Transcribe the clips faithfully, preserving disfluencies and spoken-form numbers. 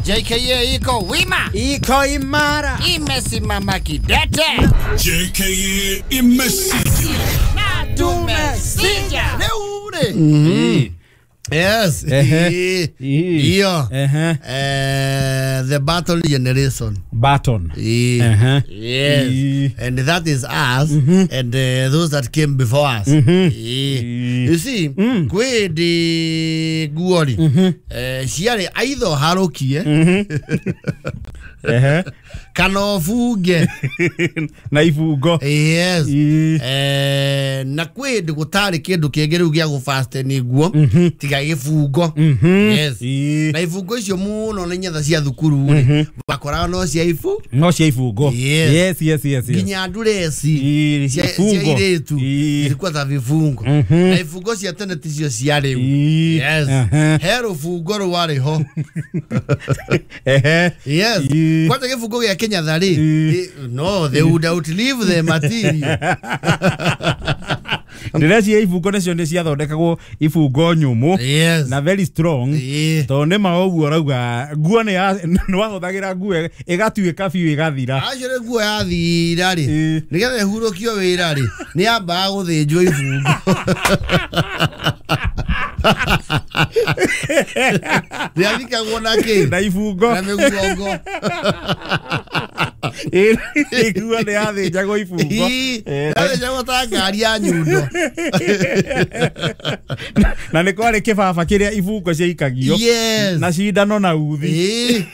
J K A iko wima, iko imara, imesimama kidete. J K A imesija na tumesija. Leure. Mm-hmm. Yes. Iyo. Uh, the battle generation. Baton. Uh-huh. Yes. And that is us, mm-hmm, and uh, those that came before us. Mm-hmm. You see, mm. kwe de guori. Mm-hmm. Ciarĩ aitho harukie. Kana ũbunge. Na ibungo. Yes. Eh, na kwĩ ndĩ gũtarĩ kĩndũ kĩngĩ rĩu gĩa gũfasten nguo tiga gĩbungo. Yes. Na ibungo icio mũno nĩ nyetha cia thukuru rĩ. Wakoraga no cia ibu? No cia ibungo. Yes. Yes, yes, yes. Nginya ndureci cia airĩtu ilikuwa ta vibungo. Na ibungo cia tene ticio cia rĩu. Yes. He rũbungo rwarĩ ho. Yes. Kwanza gĩbungo gĩa Kenya rĩ, no, they would outlive the material. Ndĩreciria ibungo nacio nĩ ciathondekagwo ibungo nyũmũ. Yes. Na very strong. Tondũ nĩ ma ũguo ũrauga nguo nĩ wahũthagĩra nguo ĩgatuĩka biũ ĩgathira. Acio nĩ nguo yathira rĩ, nĩgetha ĩhurũkio wĩra rĩ, nĩ yambaga gũthĩnjwo ibungo. Rĩathikagwo na kĩ? Na ibungo. Na mĩguongo. Nguo nĩ yathĩnjagwo ibungo. Yathĩnjagwo ta ngari ya nyundo. Na nĩ kwarĩ kĩbaba kĩrĩa ibungo ciaikagio. Yes. Na cindano na uthi.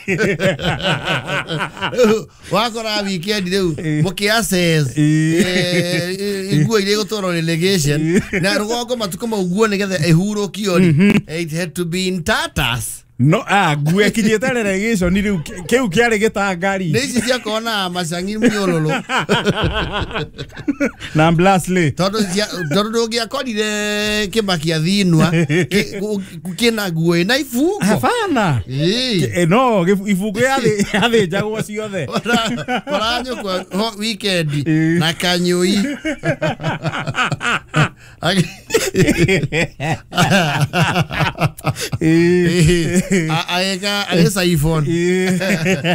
Wakora weekend rĩu mũkĩ assess nguo iria igũtwarwo relegation na rũgongo matukũ mau nguo nĩgetha ĩhurũkio rĩ, it had to be in tatters. No, ah, nguo ĩkinyĩte relegation rĩu kĩu kĩarĩ gĩtangari. Nĩ ici ciakorwo na macangi mĩũrũrũ. Na Blasley. Tondũ tondũ ndũngĩakorire kĩmakia thinwa kĩna nguo ĩna ibungo. Hapana. No, ibungo yathĩnjagwo ciothe. Koranyũkwa weekend na kanyũi. Aeka agesa iPhone.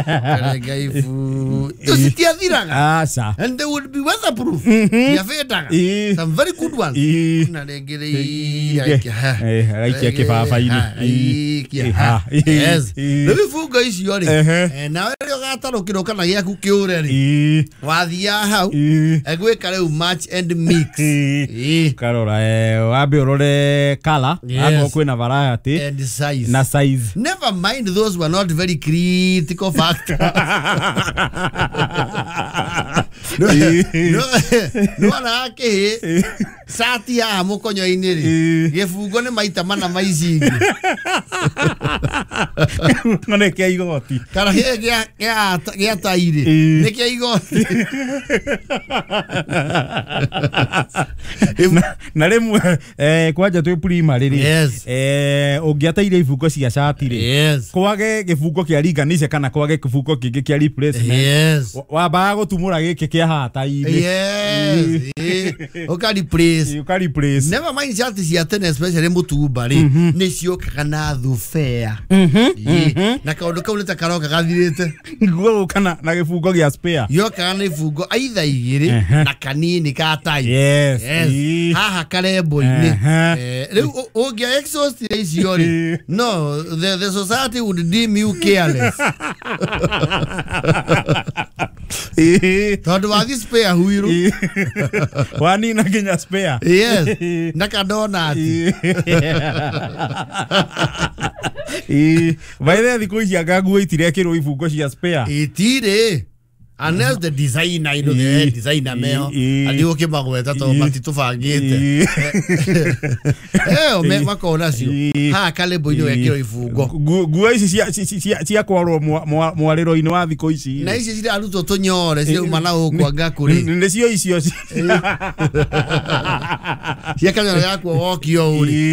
Arega iPhone. Tucitiathiraga. Aca. And they would be weatherproof. Yafetaga. Some very good ones. Na rĩngĩ aikia kĩbaba-inĩ. Yes. Rĩu ibungo icio rĩ, nawe rĩrĩa ũgatarũkĩrwo kana gĩaku kĩũre rĩ, wathiaga hau egwĩka rĩu match and mix. Karora wambe ũrore color, akorwo kwĩna variety and size. Na size. Never mind those were not very critical factors. No, no akĩ cati haha mũkonyo-inĩ rĩ, gĩbungo nĩ maita mana ma ici ingĩ. Nĩ kĩa igoti. Kana gĩa gĩa tai rĩ, nĩ kĩa igoti. Na rĩmwe kwanja twĩ primary rĩ, ũngĩateire ibungo cia cati rĩ, kwage gĩbungo kĩa ringanisha kana kwage gĩbungo kĩngĩ kĩa replacement, wambaga gũtumũra gĩkĩ kĩa haha tai-inĩ. Yes. Ũka replace. Ũka replace. Never mind cati cia tene especially mũtumba rĩ, nĩ ciokaga na thubea. Na kaũndũ kau nĩ ta karoka gathirĩte. Nguo gũka na gĩbungo gĩa spare. Yokaga na ibungo aitha igĩrĩ na kanini ka tai. Yes. Haha karembo-inĩ. Rĩu ũngĩa exhaust icio rĩ, no, the, the society would deem you careless. Tondũ wathi spare huiru. Wanina nginya spare. Yes. Na kadonati. By the way, thikũ ici anga nguo itirekĩrwo ibungo cia spare. Itirĩ. Unless the designer, you know, the designer meho, andi ũkĩmagweta tondũ matitũbangĩte. Eh, makona cio. Haha karembo-inĩ wekĩrwo ibungo. Nguo ici cia kwarwo mwarĩro-inĩ wa thikũ ici. Na ici cirarutwo tũnyore cirauma na gũkũ anga kũrĩ. Nĩcio icio. Cia kanyoro gakuo wokio ũrĩ.